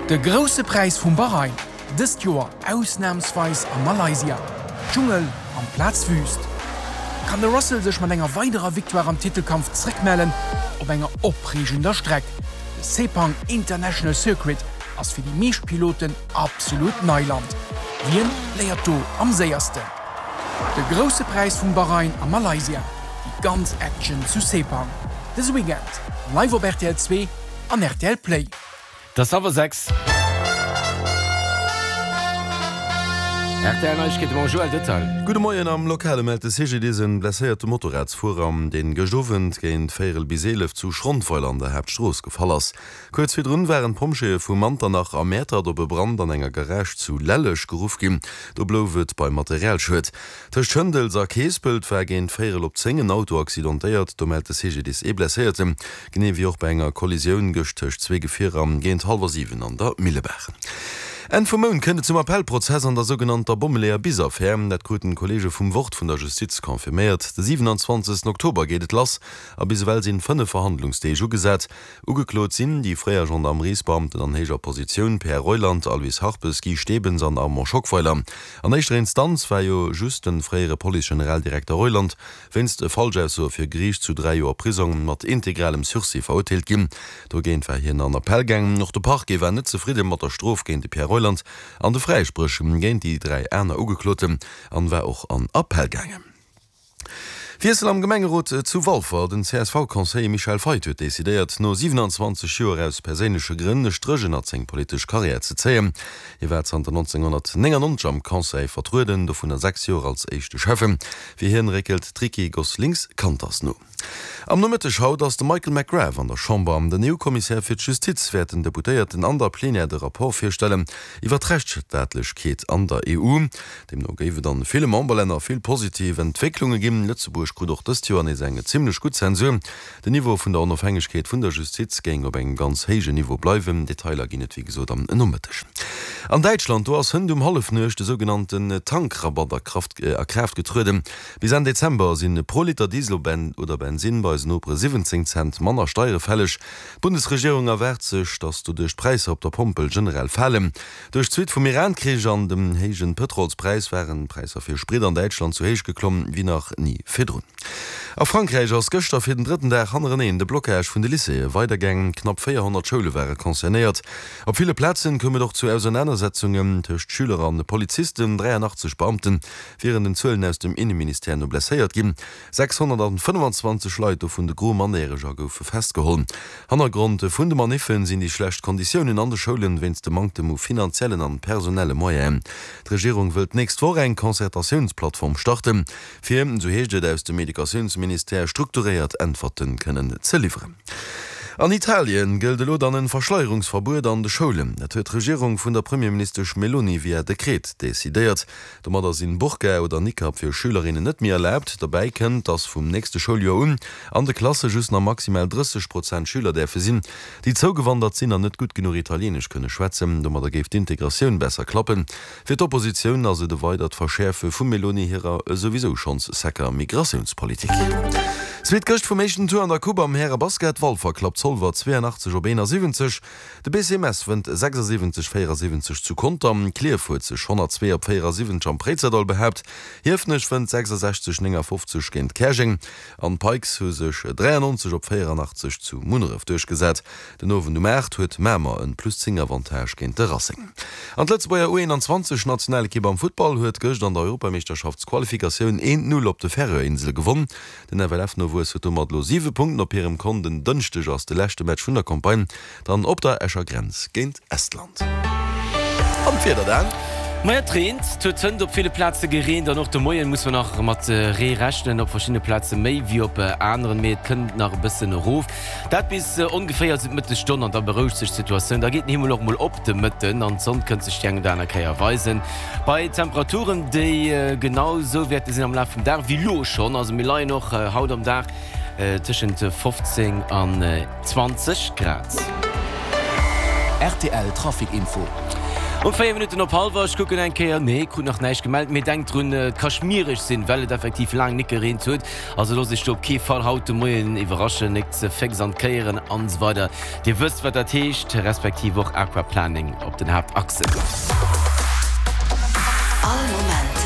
De Grousse Präis vum Bahrain, dëst Joer ausnamsweis a Malaysia, Dschungel amplaz Wüst. Kann de Russell sech mat enger weiderer Victoire am Titelkampf zréckmellen op enger opreegender Streck? De Sepang International Circuit ass fir déi meescht Piloten absolut Neiland. Wien léiert do am séiersten? De Grousse Präis vum Bahrain a Malaysia, déi ganz Action zu Sepang, dëse Weekend live op rtl 2 an rtl Play. Et ass hallwer 6. Rtl Neiegkeete mam Joël Detail. Gudde Moien, Am Lokale mellt de CGDIS en blesséierte Motorradsfuerer, deen gëscht Owend géint véierel bis 11 zu Schrondweiler an der Haaptstrooss gefall ass. Kuerz virdrun waren d'Pompjeeë vu Manternach a Mäertert op e Brand an enger Garage zu Lelleg geruff ginn. Do blouf et beim Materialschued. Tëscht Schëndels a Keespelt war géint véierel op 10 en Auto accidentéiert. Do mellt de CGDIS ee Blesséierten. Genee wéi och bei enger Kollisioun gëscht tëscht zwee Gefierer géint hallwer 7 an der Millebaach. Enn vum Mount kënnt et zum Appellprozess an der sougenannter Bommeleeër-Bis-Affär. Dat kruten d'Kolleege vum Wort vun der Justiz confirméiert. De 27 Oktober geet et lass a bis ewell sinn 5 Verhandlungsdeeg ugesat. Ugeklot sinn déi fréier Gendarmeriesbeamten an héijer Positioun Pierre Reuland, Aloyse Harpes, Guy Stebens an Armand Schockweiler. An éischter Instanz war jo just de fréiere Police-Generaldirekter Reuland wéinst Falschaussoe vir Geriicht zu 3 Joer Prisong mat integralem Sursis verurteelt ginn. Dogéint war hien an Appell gaangen. Och de Parquet war net zefridde mat der Strof géint de Pierre Reuland an de Fräispréch géint déi 3 aner Ugekloten an war och an Appell gaangen. Wiessel am Gemengerot zu Walfer, Den CSV-Conseiller Michel Feith huet decidéiert, no 27 Joer aus perséinleche Grënn e Stréch ënnert seng politesch Karriär ze zéien. Hie war zanter 1999 am Conseil vertrueden, dovunner 6 Joer als éischte Schäffen. Fir hien réckelt d'Ricky Goslings-Canters no. Am Nomëtteg haut ass de Michael McGrath an der Chamber. Den EU-Kommissär fir d'Justiz wäert den Deputéierten an der Plenière de Rapport virstellen iwwer d'Rechtsstaatlechkeet an der EU. Deemno géif et an ville Memberlänner vill positiv Entwécklunge ginn. Lëtzebuerg krut och dëst Joer nees eng zimmlech gutt Zensur. Den Niveau vun der Onofhängegkeet vun der Justiz géing op engem ganz héijen Niveau bleiwen. Detailer ginn et wéi gesot am Nomëtteg. An Däitschland, do ass hënt um Hallefnuecht de sougenannten Tankrabatt a Kraaft getrueden. Bis Enn Dezember si pro Liter Diesel oder Bensinn bei eisen Nopere 17 Cent manner Steiere fälleg. D'Bundesregierung erwaart sech, datt doduerch d'Präisser op der Pompel generell falen. Duerch d'Suite vum Iran-Krich an dem héijen Pëtrolspräis waren d'Präisser fir Sprit an Däitschland sou héich geklomm wéi nach ni virdrun. A Frankräich ass gëschter fir den drëtten Dag hannereneen de Blocage vun de Lycéeë weidergaangen. Knapp 400 Schoule ware concernéiert. Op ville Plazen koum et och zu Ausernanersetzungen tëscht Schüler an Polizisten. 83 Beamte wieren den Zuelen aus dem Inneministère no blesséiert ginn. 625 Leit, dovun de Gros Mannerjäreger, goufe festgeholl. Hannergrond vun de Maniffen sinn déi schlecht Konditiounen an de Schoulen wéinst dem Manktem u finanziellen an personelle Moyenen. D'Regierung wëllt d'nächst Woch eng Concertatiounsplattform starten, fir, esou heescht et aus dem Educatiounsministère, strukturéiert Äntwerten kënnen ze liwweren. An Italien gëllt elo dann en Verschleierungsverbuet an de Schoulen. Dat huet d'Regierung vun der Premierministesch Meloni via Dekret decidéiert. Domadder sinn Burka oder Niqab fir Schülerinnen net méi erlaabt. Derbäi kënnt, dass vum nächste Schouljoer un an de Klasse just nach maximal 30 Prozent Schüler däerfe sinn, déi zougewandert sinn an net gutt genuch Italienesch kënne schwätzen. Domadder géif d'Integratioun besser klappen. Fir d'Oppositioun ass et e weidert Verschäerfe vum Meloni hirer souwisou schonns secker Migratiounspolitik. Zweet Këscht vum éischten Tour an der Coupe am Härebasket, Walfer klappt Zolwer 82 op 71. De BC Mess wënnt 76, 74 zu Conter. Klierf huet sech 102 op 74 am Préizerdaul behaapt. Hiefenech wënnt 66, 59 géint Käerjeng an d'Pikes hu sech 93 op 84 zu Munneref duerchgesat. Den Owend um 8 huet Mamer en plus 10 Avantage géint de Racing. An d'Lëtzebuerger U21 Nationalekipp am Futtball huet gëscht an der Europameeschterschaftsqualifikatioun 1, 0 op de Färöerinsele gewonn. Den FLF-Nowuess huet domat elo 7 Punkten op hirem Kont. En Dënschdeg ass de leschte Match vun der Campagne dann op der Escher Grenz géint Estland. An d'Wieder dann? Maja, et reent. Et huet hënt op ville Plaze gereent an och de Moien muss mer nach mat Ree rechnen, op verschiddene Plaze méi wéi op aneren, mee et kënnt nach e bëssen erof. Dat bis ongeféier sou d'Mëttesstonn an da berouegt sech d'Situatioun. Da geet den Himmel och mol op de Mëtten an d'Sonn kënnt sech déi eng oder aner Kéier weisen. Bei Temperaturen, déi genau sou wäerte sinn am Laf vum Dag wéi lo schonn. Also mir leien och haut am Dag tëschent 15 an 20 Grad. Rtl Trafic Info. Um 4 Minutten op hallwer, ech kucken eng Kéier, nee, krut nach näischt gemellt, mee denkt drun, et ka schmiereg sinn, well et effektiv laang nik gereent huet. Also loosst iech do op kee Fall haut de Moien iwwerraschen, nik ze féx an d'Kéieren an esou weider. Dir wësst wat dat heescht, respektiv och Aquaplaning op den Haaptachsen. All Moment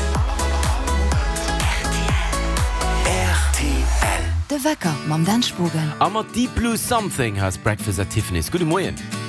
rtl. De Wecker mam Dan Spogen. A mat Deep Blue Something hei ass Breakfast at Tiffany's. Gudde Moien.